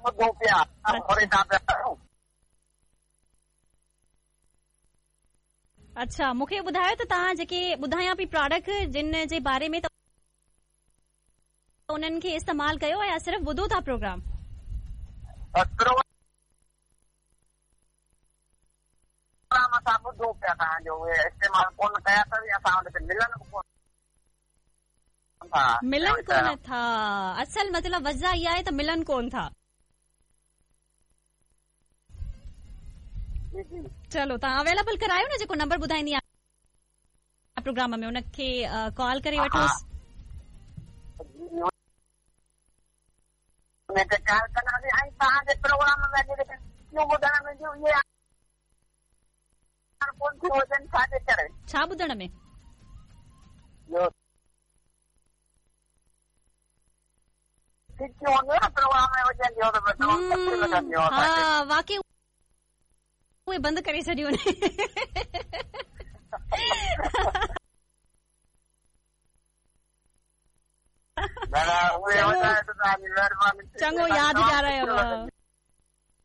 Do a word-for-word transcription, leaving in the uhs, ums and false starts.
ॿुधूं पिया। अच्छा, मूंखे ॿुधायो त तव्हां जेके ॿुधायां पई प्रोडक्ट जिन जे बारे में, त उन्हनि खे इस्तेमालु कयो या सिर्फ़ ॿुधो था प्रोग्राम? प्रोग्राम असां ॿुधो पिया तव्हांजो, उहे इस्तेमालु कोन कया अथव, असां वटि मिलनि कोन था। मिलनि कोन था। असल मतिलबु वजह इहा आहे त मिलनि कोन था। चलो, तव्हां अवेलेबल करायो न, जेको नंबर ॿुधाईंदी आहियाँ प्रोग्राम में, उनखे कॉल करे वठोसि। उनखे कॉल कंदासीं। ऐं तव्हांजे प्रोग्राम में जेके ॿुधण में उहे कोन थियूं हुजनि, छाजे करे? छा ॿुधण में? हा, वाकई उहे बंदि करे छॾियूं। चङो यादि ॾियारायो।